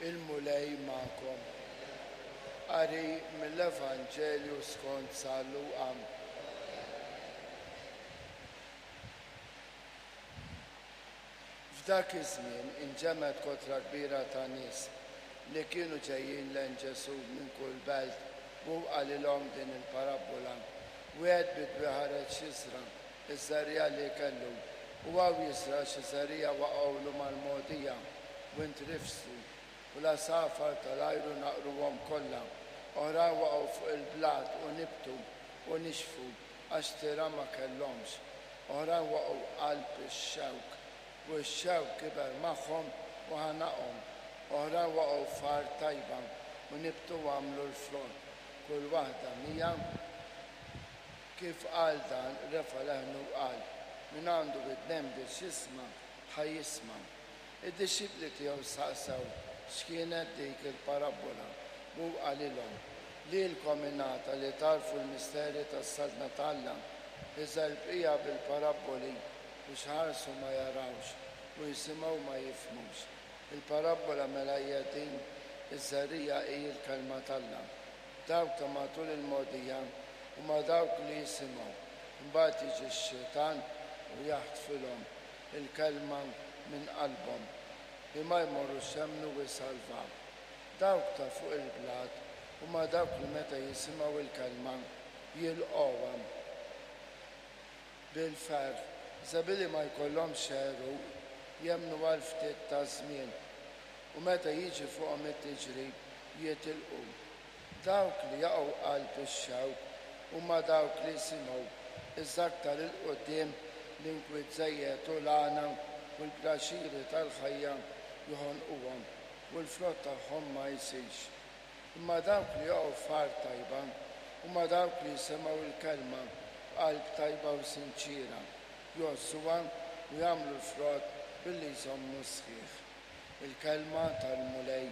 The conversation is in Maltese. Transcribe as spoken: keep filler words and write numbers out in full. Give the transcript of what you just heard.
Il-Mulej magħkom. Qari mill-Evanġelju skont San Luqa. F'dak iż-żmien inġemgħet kotra kbira ta' nies li kienu ġejjin lejn Ġesù minn kull belt u qalilhom din il-parabbola. Wieħed bidwi ħareġ jiżra' iż-żerriegħa li kellu, u hawn jiżra' xi żerriegħa waqgħulu mal-mogħdija u intrifsu, u l-għasafar tal-ajru naqruhom kollha. Oħrajn waqgħu fuq il-blat u nibtu u nixfu għax tira ma kellhomx. Oħrajn waqgħu qalb ix-xewk, u x-xewk kiber magħhom u ħanaqhom. Oħrajn waqgħu f'art tajba u nibtu u għamlu l-frott, kull waħda mija. Kif qal dan, refa' leħnu u qal, Min għandu widnejn biex jisma', ħa jisma'. Id-dixxipli tiegħu staqsew x'kienet dik il-parabbola, u hu qalilhom, Lilkom ingħata li tagħrfu l-misteri tas-Saltna ta' Alla, iżda l-bqija bil-parabboli, biex iħarsu ma jarawx u jisimgħu ma jifhmux. Il-parabbola mela hija din, iż-żerriegħa hi l-kelma t'Alla. Dawk ta' matul il-mogħdija huma dawk li jisimgħu, imbagħad jiġi x-xitan u jaħtfilhom il-kelma minn qalbhom, li ma jmorrux jemmnu u jsalvaw. Dawk ta' fuq il-blat huma dawk li meta jisimgħu l-kelma jilqgħuha bil-ferħ, iżda billi ma jkollhomx għeruq, jemmnu għal ftit ta' żmien, u meta jiġi fuqhom it-tiġrib jitilqu. Dawk li jaqgħu qalb ix-xewk huma dawk li jisimgħu, iżda aktar 'il quddiem l-inkwiet żejjed u l-għana u l-pjaċiri tal-ħajja joħonquhom, u l-frott tagħhom ma jsirx. Imma dawk li jaqgħu f'art tajba huma dawk li jisimgħu l-kelma b'qalb tajba u sinċiera, jgħożżuha u jagħmlu l-frott billi jżommu sħiħ. Il-kelma tal-Mulej.